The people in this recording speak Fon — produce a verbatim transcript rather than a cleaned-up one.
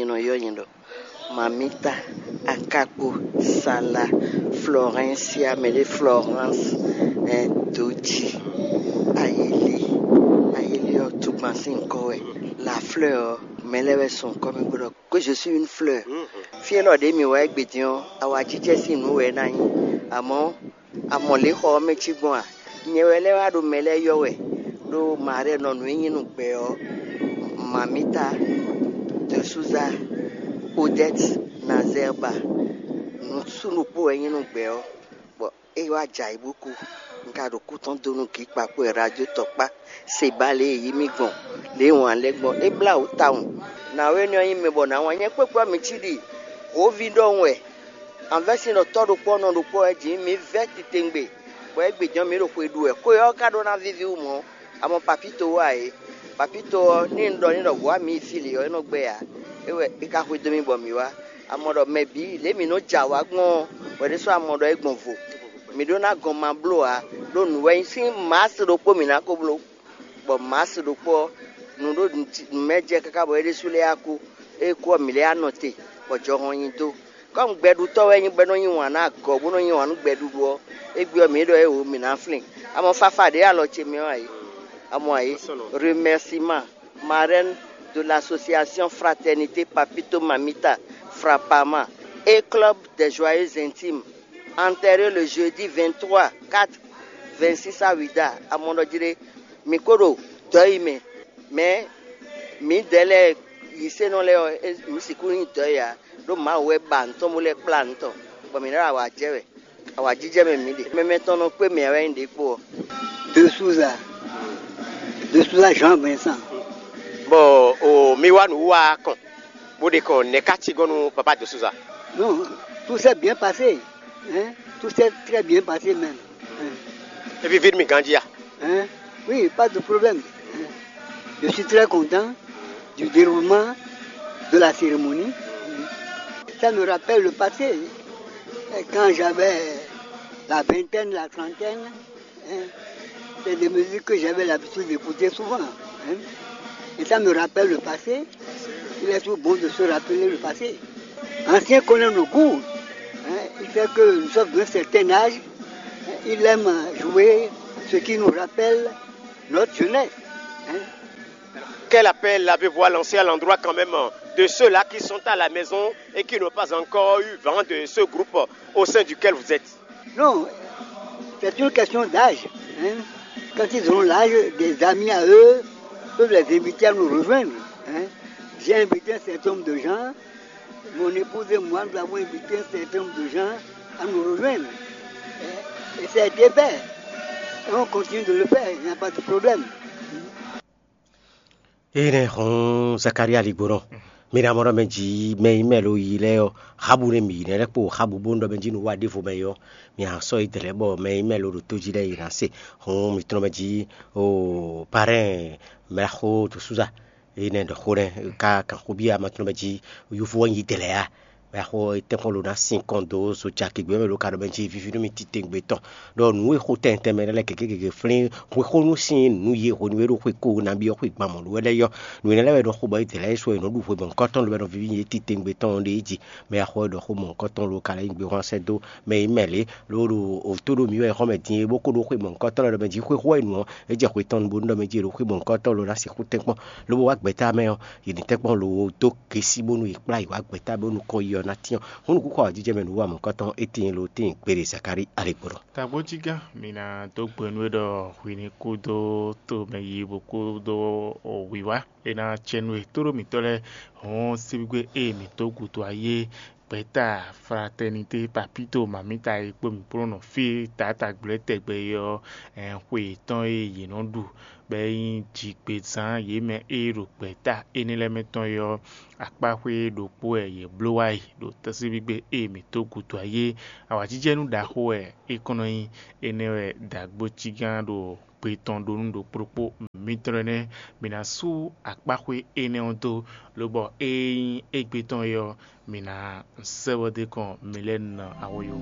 Nɔ ylɔ́ nyɛ ɖɔ Mamita, Akakpo, Sala, Florencia, mɛ ɖé Florence, Doji, Ayeli. Ayeli ɔ́, tugban sín nyǐkɔ wɛ. La Fleur ɔ́, mɛ lɛ́ɛ wɛ sɔn kɔ́ mɛ bó ɖɔ que je suis une fleur. Fí élɔ́ ɖě mǐ wá égbé din ɔ́, awǎjijɛ sín nǔ wɛ é ná nyí. Amɔ̌, a mɔ lě xɔ ɔ́ mɛ cí gbɔn a? Nyɛ wɛ lɛ́ɛ wá ɖo mɛ lɛ́ɛ ylɔ́ wɛ, ɖó Marie nɔ nǔ e nyí nú gbɛ ɔ́, Mamita, de Souza, Odette, Nazerba, nǔsúnukpo wɛ nyí nú gbɛ ɔ́, bɔ é wá jɛ ayǐ bó kú. Un ka ɖo kú tɔn dó nú Gǐkpa kpó radio tɔkpá, Seba lě e yí mì gbɔn, lě e wǎn lɛ́ gbɔn. É blá wǔ tawun. Nǎwe énɛ́ ɔ́ nyí mɛ bɔ nǎ wǎn nyɛ kpékpé ɔ́, mǐ cí ɖi hǒví ɖɔhun wɛ. Anvɛ́sin ɖɔ tɔ́ ɖokpó ɔ́ nɔ ɖokpó wɛ jǐ mǐ vɛ́ titewungbe, bɔ égbé jɔ́n mǐ ɖo xwe ɖu wɛ. Xwe ɔ́ ka ɖó ná víví wú mɔ̌, a mɔ Papíto wú ǎ é. Papíto ɔ́, ní un ɖɔ n'i ɖɔ hǔ wá mǐ yi fí lě ɔ́, é nɔ gbɛ́ ǎ. É wɛ é ka xwedó mì bɔ mǐ wá. A mɔ ɖɔ mɛ bǐ lě mǐ nɔ jɛ awǎ gbɔn ɔ́, wɛ ɖésú a mɔ ɖɔ é gbɔn vo. Mǐ ɖó ná gɔn ma bló ǎ, ɖó nǔ wɛ nyí sín Maasi ɖokpó mǐ ná ko bló. Bɔ Maasi ɖokpó ɔ́, nǔ ɖo nǔ mɛ jɛ káká bɔ é ɖésú lɛ́ yá kú. Ée kú ɔ́, mǐ lɛ́ yá nɔ te, bɔ jɔhɔn nyi dó. Kɔ́mu gbɛɖutɔ́ wɛ é nyí bɔ é nɔ yí wǎn nú agɔ̌, bó nɔ yí wǎn nú gbɛɖuɖu ɔ́, égbé ɔ́, mǐ ɖɔ éwo mǐ ná flín. A mɔ fafa ɖě alɔ ce mɛ ɔ́ ǎ é? A mɔ ǎ é? Remerciement, marraine de l'association Fraternité Papito Mamita Frapama et Club des Joyeux Intimes, enterré le jeudi vingt-trois quatre vingt-six à Ouidah, à Mondodjiré. Mǐ ko ɖo dɔ̌ yi mɛ, mɛ mǐdɛɛ lɛ́ɛ yisenɔ lɛ́ɛ ɔ́, mǐ sixú nyí dɔ̌ yi ǎ, ɖó Mawu wɛ ba nǔ tɔn bó lɛ́ kplá nǔ tɔn, bɔ mǐ ná ɖo awǎ jɛ wɛ. Awǎjijɛ mɛ mǐ ɖe. Mɛmɛ tɔn nɔ kpé mɛ wɛ nyí ɖěkpo ɔ́. De Souza, de Souza Jean Vincent. Bon, o mi wá nǔ wá kɔn, bó ɖe kɔn nɛ̌ ká cí gɔ́n nú papa de Souza? Non, tout s'est bien passé. Hein? Tout s'est très bien passé même. Hein? Et puis, vite, mi grandit, ah. Hein? Oui, pas de problème. Hein? Je suis très content du déroulement de la cérémonie. Ça me rappelle le passé, quand j'avais la vingtaine, la trentaine. Hein? C'est des musiques que j'avais l'habitude d'écouter souvent. Hein? Et ça me rappelle le passé. Il est toujours bon de se rappeler le passé. Ancien connaît nos goûts. Hein? Il fait que nous sommes d'un certain âge. Hein? Il aime jouer ce qui nous rappelle notre jeunesse. Hein? Quel appel avez-vous à lancer à l'endroit quand même de ceux-là qui sont à la maison et qui n'ont pas encore eu vent de ce groupe au sein duquel vous êtes? Non, c'est une question d'âge. Hein. Quand ils auront l'âge, des amis à eux peuvent les inviter à nous rejoindre. Hein. J'ai invité un certain nombre de gens, mon épouse et moi, nous avons invité un certain nombre de gens à nous rejoindre. Hein. Et ça a été fait. Et on continue de le faire, il n'y a pas de problème. Énɛ́ hɔn Zakária ligbonɔ, mi ná mɔ ɖɔ mɛ jí mɛ yi mɛ lo yi lɛ́ɛ ɔ́, xábu nɛ mi yi nɛ́ lɛ́ kpo xábu bónú ɖɔ mɛ jí nǔ wa ɖěvo mɛ yi ɔ́, mi a sɔ́ yi dɛ̌ lɛ́ bɔ mɛ yi mɛ lo ɖo tó jí lɛ́ɛ yi ná se. Hɔn mi tlɔ́n mɛ jí o parɛ́n mɛ xó to súza. Énɛ́ ɖɔ xó nɛ́ ká kan xó byɔ́ ama tlɔ́n mɛ jí yúvú ɔ́ nyi dɛ̌ lɛ́ɛ a? Mɛ xó tɛ́nkpɔ́n lo ná sin kɔn dó so caki gbé mɛ lo ka ɖɔ mɛ jí víví nú mi titewungbe tɔn. Ɖɔ nǔ e xó tɛntɛn mɛ lɛ́ɛ gěgé gěgé flín hwexónú sín nǔ ye hwenu e ɖo xwe ko nabí ɔ́ xwe gban mɔ̌ ɖó wɛ lɛ́ɛ yɔ. Nǔ énɛ́ lɛ́ɛ wɛ nɔ xo bɔ é dě lɛ́ɛ sɔ è nɔ ɖu hwe mɔ̌hunkɔtɔn lo wɛ nɔ víví nyi é titewungbe tɔn ɖe é jí. Mɛ xó wɛ ɖɔ xó mɔ̌hunkɔtɔn lo ka lɛ́ nyi gbé hwán sɛ́ dó mɛ yi mɛ lě ló ɖo òtó ɖo mǐ wɛ xɔ́ mɛ din é bó ko ɖó xwe mɔ̌hunkɔtɔn lɛ́ɛ ɖɔ mɛ jí xwexó wɛ nǔ ɔ́ é jɛ xwe tɔn bónú ɖɔ mɛ jí è ɖo xwe mɔ̌hunkɔtɔn lo ná sixú tɛ́nkpɔ́n lobo wá gbɛ̌ta mɛ ɔ́, yě ní tɛ́nkpɔ́n lo dó gěsí bónú è kplá yě wá gbɛ̌ta bónú kɔn yi ɔ́ ná tyɔ́n. Hǔn nǔkúnkɔ awǎjijɛ mɛ nǔ wa mɔ̌hunkɔtɔn étɛ́n lo tíin kpéɖé Zakári alěgbɔ́nɔ. Tagbójígán, mi ná dó gbe nú we ɖɔ hwi ní kú dó to mɛ yi bó kú dó wǐwá. É ná cɛ nú we tóɖó mǐtɔn lɛ́ɛ hɔn síbígbe ée mǐ dó gǔdo ayé gbɛ̌ta Fraternité Papito Mamita e kpó mǐ kplɔ́n nɔ fí taatagblɛ̌ tɛgbɛ é ɔ́, xwe yětɔn e yě nɔ ɖu bɔ é nyí jigbezán yě mɛ e ɖo gbɛ̌ta énɛ́ lɛ́ɛ mɛ tɔn é ɔ́, akpáxwé ɖokpó wɛ yě bló wá yi ɖo tɛ́síbígbe e mǐ dó gǔdo ayé. Awǎjijɛnú ɖaxó wɛ é kɔn nɔ nyí. Énɛ́ wɛ dǎgbójígán ɖo gbe tɔn ɖó nú ɖokpó ɖokpó mitɔn lɛ́ɛ nɛ́. Mi ná sú akpáxwé énɛ́ ɔ́ dó, lobɔ ée nyí égbé tɔn é ɔ́, mi ná sɛ́ bɔ dó kɔn mi lɛ́ɛ nɔ awoyo.